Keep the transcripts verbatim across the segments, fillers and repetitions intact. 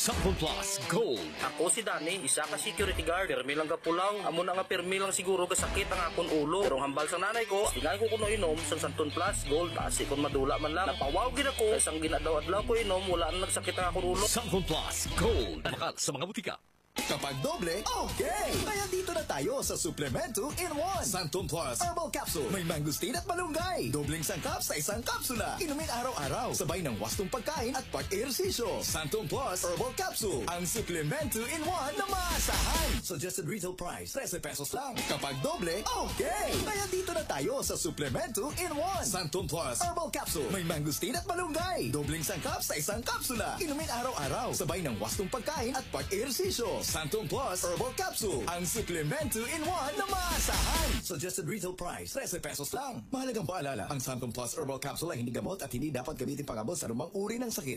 Santon Plus Gold. Ako si Danny, isa ka security guard. Pirmi lang gapulaw. Amo na nga pirmi lang siguro gasakit ang akon ulo. Pero ang hambal sang nanay ko, tingali ko kuno inom sang Santon Plus Gold. Basi kon madula man lang. Napawaw gid ako. Kay sang gin-adlaw-adlaw ko inom, wala na nagsakit ang akon ulo. Santon Plus Gold. Makal sa mga butika. Kapag doble, okay! Kaya dito na tayo sa Suplemento in one. Santon Plus Herbal Capsule. May mangosteen at malunggay. Dobleng sangkap sa isang kapsula. Inumin araw-araw. Sabay ng wastong pagkain at pag-ehersisyo. Santon Plus Herbal Capsule. Ang suplemento in one na maasahan. Suggested retail price, trese pesos lang. Kapag doble, okay! Kaya dito na tayo sa Suplemento in one. Santon Plus Herbal Capsule. May mangosteen at malunggay. Dobleng sangkap sa isang kapsula. Inumin araw-araw. Sabay ng wastong pagkain at pag-ehersisyo. Santon Plus Herbal Capsule. Ang suplemento in one na maasahan. Suggested retail price, trese pesos lang. Mahalagang paalala, ang Santon Plus Herbal Capsule ay hindi gamot at hindi dapat gamitin pang-abot sa anumang uri ng sakit.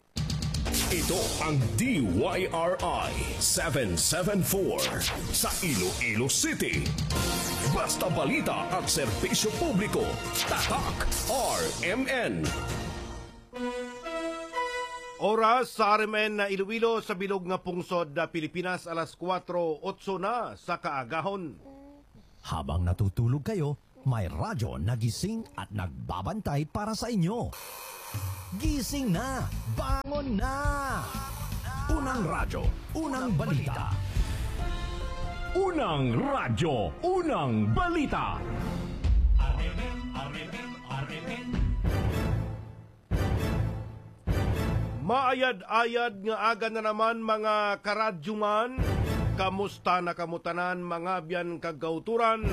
Ito ang D Y R I seven seven four sa Iloilo City. Basta balita at serbisyo publiko, Tatak R M N. Oras sa R M N na Iloilo sa bilog nga pungsod na Pilipinas, alas kuwatro otso na sa kaagahon. Habang natutulog kayo, may radyo na gising at nagbabantay para sa inyo. Gising na! Bangon na! Unang radyo, unang balita. Unang radyo, unang balita. Maayad-ayad nga aga na naman, mga karadyoman. Kamusta na kamo tanan, mga abyan kag kauturan?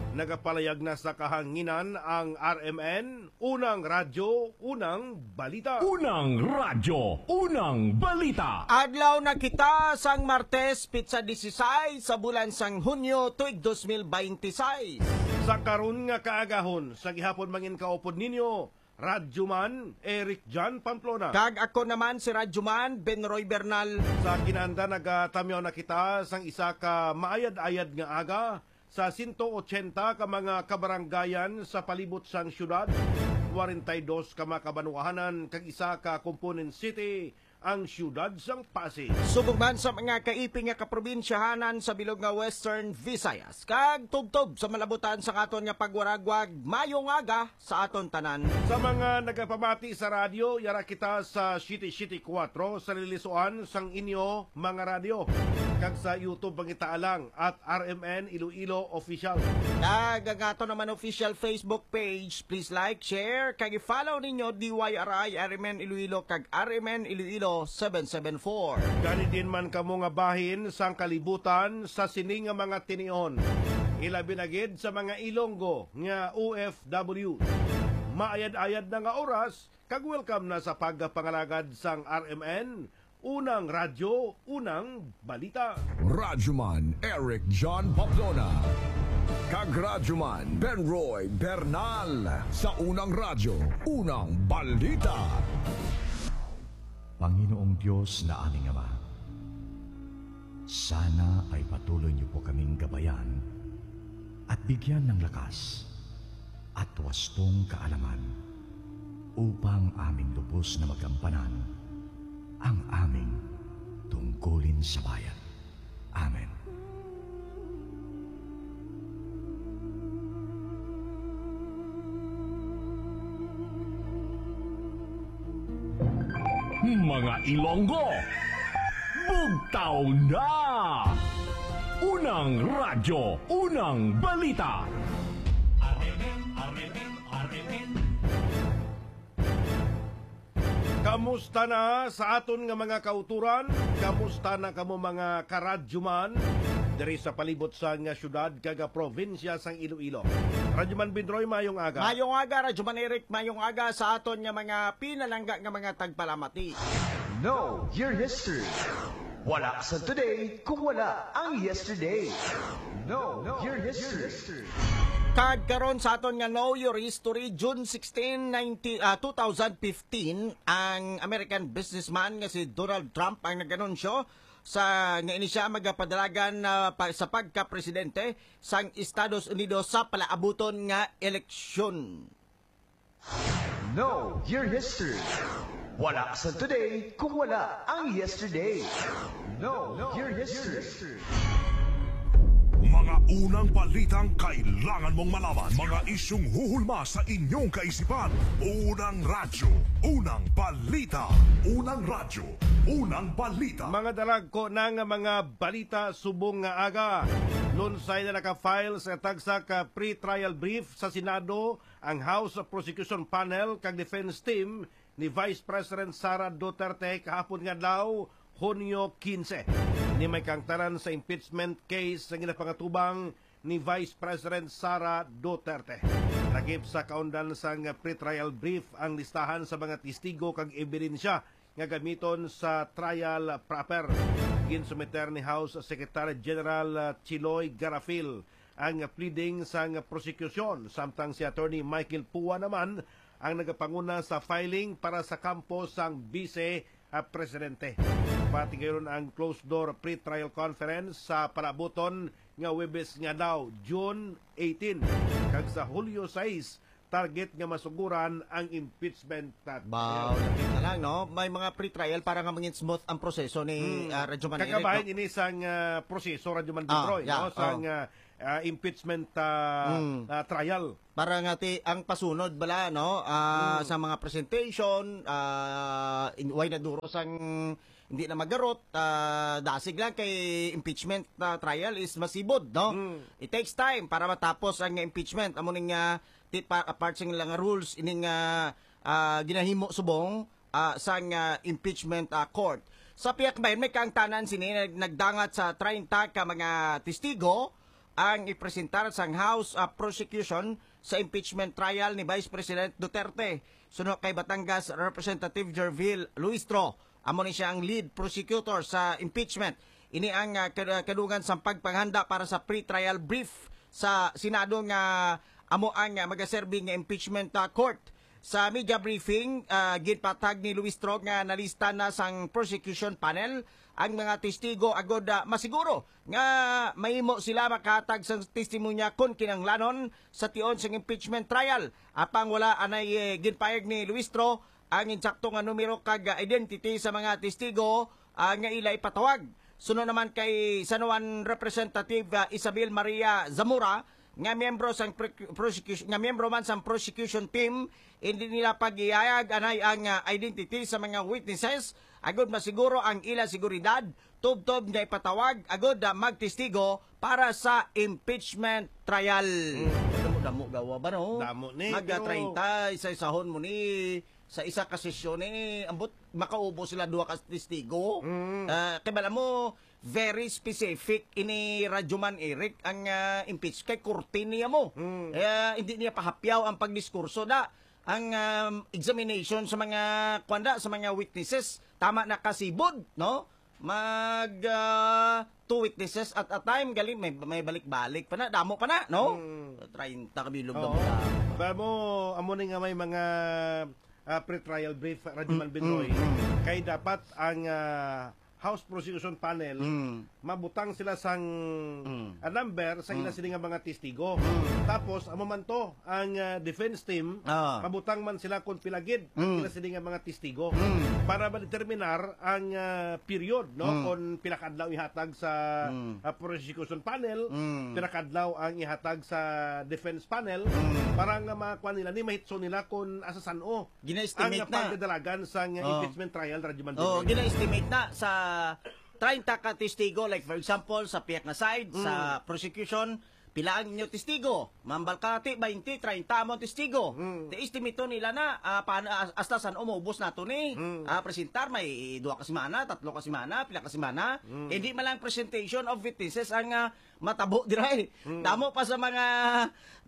Nagapalayag na sa kahanginan ang R M N, unang radyo, unang balita. Unang radyo, unang balita. Adlaw na kita sang Martes, pitsa dieciséis sa bulan sang Hunyo, tuig dos mil beintiseis. Sa karon nga kaagahon, sa gihapon mangin kaupod ninyo, Radyoman Eric John Pamplona. Kag ako naman si Radyoman Ben Roy Bernal. Sa kinaandan, nagatamyaw na kita sang isa ka maayad-ayad nga aga sa sento ochenta ka mga kabaranggayan sa palibot sang siyudad, kwarenta y dos ka mga kabanwahanan, kag isa ka component city, ang siyudad sang Pasig. Subong man sa mga kaiping nga kaprobinsyahanan sa bilog nga Western Visayas, kag tubtob sa malabutan sa aton nga pagwaragwag, mayong aga sa aton tanan. Sa mga nagapamati sa radyo, yara kita sa siyete siyete kuwatro sa lilisuan sang inyo mga radyo, kag sa YouTube, pangita lang at R M N Iloilo Official. Kag ang ato naman official Facebook page, please like, share, kag i-follow ninyo D Y R I R M N Iloilo kag R M N Iloilo seven seven four. Gani, diin man kamo nga bahin sang kalibutan sa sini nga mga tinion, ilabi na gid sa mga Ilonggo nga O F W. Maayad-ayad na nga oras, kag welcome na sa pagpangalagad sang R M N, unang radyo, unang balita. Radyoman Eric John Pamplona kag Radyoman Ben Roy Bernal sa unang radyo, unang balita. Panginoong Dios na aming Ama, sana ay patuloy niyo po kaming gabayan at bigyan ng lakas at wastong kaalaman, upang aming lubos na magampanan ang aming tungkulin sa bayan. Amen. Mga Ilonggo, bugtaw na! Unang radyo, unang balita. Kamusta na sa aton nga mga kauturan? Kamusta na kamo, mga karadyoman, diri sa palibot sa nga syudad kag probinsya sang Iloilo? Radyoman Bindroy, mayong aga. Mayong aga, Radyoman Eric, mayong aga sa aton nga mga pinalangga nga mga tagpalamati. Know your history. Wala sa today kung wala ang yesterday. Know your history. Kag karon sa aton nga Know Your History, June sixteen, nineteen, ah, two thousand fifteen, ang American businessman nga si Donald Trump ang nag-anunsyo sa, nga ini siya magapadalagan na pa, sa pagka-presidente sang Estados Unidos sa palaabuton nga eleksyon. Know your history. Wala sa today kung wala ang yesterday. Know your history. Mga unang balitang kailangan mong malaman. Mga isyung huhulma sa inyong kaisipan. Unang radyo, unang balita. Unang radyo, unang balita. Mga dalagko na nga mga balita subong nga aga. Lunsay na naka-file sa tagsa ka pre-trial brief sa Senado ang House Prosecution Panel kag Defense Team ni Vice President Sara Duterte kahapon nga adlaw, Hunyo quince. Ni may kaangtanan sa impeachment case nga ginapangatubang ni Vice President Sara Duterte. Lakip sa kaundan sang pretrial brief ang listahan sa mga testigo kag ebidensya nga gamiton sa trial proper. Ginsumiter ni House Secretary General Chiloy Garafil ang pleading sang prosekusyon, samtang si Attorney Michael Pua naman ang nagapanguna sa filing para sa kampo sang Vice ah, Presidente. Patigayon ang closed-door pre-trial conference sa palabuton nga Huwebes nga adlaw, June eighteen, kag sa Hulyo sais, target nga masuguran ang impeachment trial. Baw, dapit na lang, no? May mga pre-trial para nga mangin smooth ang proseso ni, Hmm. ah, Radyo Man Eric, Kakabahin no? ini sang, ah, proseso, Radyo Man Ah, Binoy, yeah, no? Sang, oh. ah, ah, impeachment, ah, Hmm. ah, trial. Para nga ti, ang pasunod bala, no? Ah, Hmm. sa mga presentation, ah, in, way na duro sang hindi na magarot, ah, dasig lang kay impeachment, ah, trial is masibod, no? Hmm. It takes time para matapos ang impeachment. Amo ning, ah, ti, pa, part sa ilang rules, ining, ah, ah, ginahimo subong, ah, sang, ah, impeachment, ah, court. Sa pihak bayan, may kaangtanan sini nag-, nagdangat sa treinta ka mga testigo ang ipresentar sang House, ah, prosecution sa impeachment trial ni Vice President Duterte. Suno kay Batangas Representative Gervil Luistro, amo ni siya ang lead prosecutor sa impeachment. Ini ang, ah, kad-, kadungan sang pagpanghanda para sa pre-trial brief sa Senado nga amo ang, ah, magaserbi nga impeachment, ah, court. Sa media briefing, ah, ginpatag ni Luistro nga nalista na sang prosecution panel ang mga testigo agod, ah, masiguro nga mahimo sila makahatag sang testimonya kon kinahanglanon sa tion sang impeachment trial. Apang wala anay, eh, ginpayag ni Luistro ang insakto nga numero kag, ah, identity sa mga testigo, ah, nga ila ipatawag. Suno naman kay San Juan Representative, ah, Isabel Maria Zamora, nga miyembro sang pre-, prosecution, nga miyembro man sang prosecution team, hindi nila pag-ihayag anay ang, ah, identity sa mga witnesses agud masiguro ang ila seguridad, tubtob nga ipatawag agud, ah, magtestigo para sa impeachment trial. Mm. Damo-damo gawa ba, no? Damo ni, Mag, ah, pero treinta, isa-isahon mo ni sa isa ka sesyon ni, ambot makaubo sila duha ka testigo. Mm. Ah, kay bala mo, very specific ini Radyo Man Eric ang, ah, impeach kay korte niya mo. Mm. Eh, hindi niya pahapyaw ang pagdiskurso da. Ang, um, examination sa mga, kwan da, sa mga witnesses, tama na kasibod, no? Mag, ah, two witnesses at a time, gali, may, may balik-balik pa na, damo pa na, no? Mm. Treinta ka bilog Oo. na mo. Kaya mo, amo ni nga may mga, ah, pre-trial brief, Radyo Mm, Man Binoy. mm, mm. Kay dapat ang, ah, House Prosecution Panel, Mm. mabutang sila sang, Mm. ah, number sa ila Mm. sini nga mga testigo. Mm. Tapos, amo man to, ang, ah, defense team, Ah. mabutang man sila kung pila gid ang Mm. sila sini nga mga testigo. Mm. Para ma-determinar ang, ah, period, no? Mm. Kung pila ka adlaw ihatag sa, Mm. ah, prosecution panel, Mm. pila ka adlaw ang ihatag sa defense panel, Mm. para nga makuha nila, ni mahitso nila kung asa san-o Gina-estimate ang na. pagdadalagan sa nga Oh. impeachment trial, Radyo Man Oh, Binoy. gina-estimate na sa treinta ka testigo, like, for example, sa pihak nga side, sa Mm. prosecution, pila ang inyo testigo? Mambal ka, ti, twenty, treinta mo ang testigo. Mm. Ti, estimate nila na, ah, paano, as-, hasta san-o maubos nato ni, Mm. ah, presentar, may duha ka semana, tatlo ka semana, pila ka semana. Mm. Hindi man lang presentation of witnesses ang, ah, matabo dira, eh. Mm. Damo pa sa mga,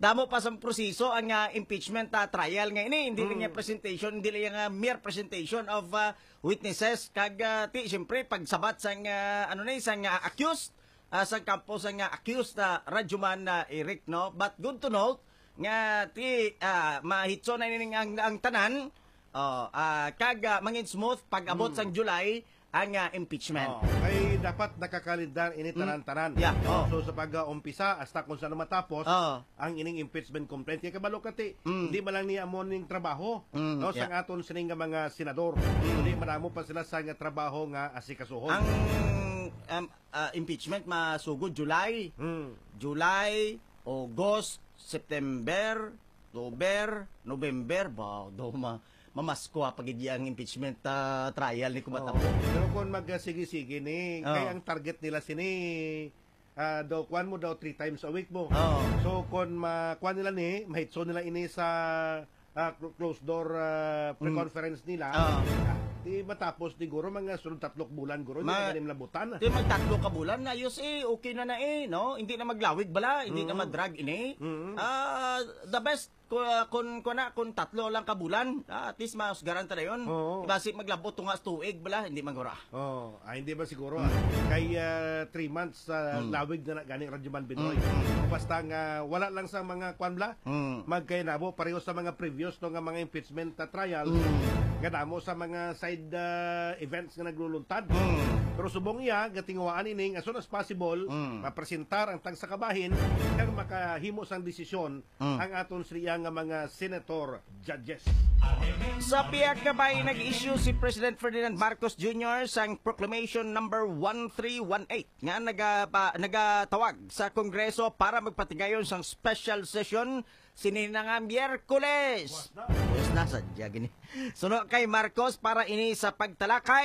damo pa sa proseso ang, ah, impeachment, ah, trial nga ini. Hindi lang Mm. yung presentation, hindi lang yung, ah, mere presentation of, ah, witnesses. Kag, ah, ti, siyempre, pagsabat sang, ah, ano ni, sang, ah, accused, ah, sang kampo sang, ah, accused na Radyo Man, ah, Eric, no? But good to note nga ti, ah, mahitso na ini ang, ang tanan, Oh, ah, kag, ah, mangin smooth pag abot Mm. sang July ang, ah, impeachment. Oh, kay dapat nakakalendar ini Mm. tanan-tanan. Yeah, oh. So, sa pag-umpisa hasta kung saan matapos Oh. ang ining impeachment complaint. Kay kabalo ka, ti, Mm. hindi man lang niya amo ning trabaho, Mm, no, sang yeah. aton sining nga mga senador. Mm. Kundi madamo pa sila sa nga trabaho nga asikasuhon. Ang, um, ah, impeachment masugod July. Mm. July, August, September, October, November, ba, daw ma-, mamasko pa gid ang impeachment, ah, trial ni kumatapos. Oo. Pero kung magsige-sige ni, Oo. kay ang target nila sini, ah, daw, kuwan mo daw, three times a week mo. Oo. So, kung ma-, kuwan nila ni, mahitso nila ini sa, ah, cl-, closed door, ah, Mm. pre-conference nila, Oo. ah, di matapos, di guro, mga sunod tatlo ka bulan, guro, Ma-, hindi na nila butan. Di magtatlo ka bulan, ayos eh, okay na na eh, no? Hindi na maglawig bala, hindi na Mm. madrag ini. Mm. Ah, the best, ku-, kun, kun, kun tatlo lang ka bulan, ah, at least mahusgaran ta dayon. Oo. Basi maglabot tunga sa tuig bala, hindi man guro. Oh, ah, hindi ba siguro, ah? Mm. Kay, ah, three months, ah, Mm. lawig na na gani, Radyo Man Binoy. Mm. Basta nga, wala lang sa mga kwan bala, Mm. magkainabo, pareho sa mga previous, no, nga mga impeachment, ah, trials, Mm. nga damo sa mga side, ah, events nga nagluluntad. Mm. Pero subong iya, gatinguhaan ini nga as soon as possible, Mm. mapresentar ang tagsa ka bahin, kag makahimo sang desisyon Mm. ang aton siya nga mga senator judges. Sa pihak nga bahin, nag-issue si President Ferdinand Marcos Junior sang Proclamation Number one three one eight nga nagapa-, nagatawag sa Kongreso para magpatigayon sang special session sini na nga Miyerkules. Buwas na. Buwas na, sadya gini. Suno kay Marcos, para ini sa pagtalakay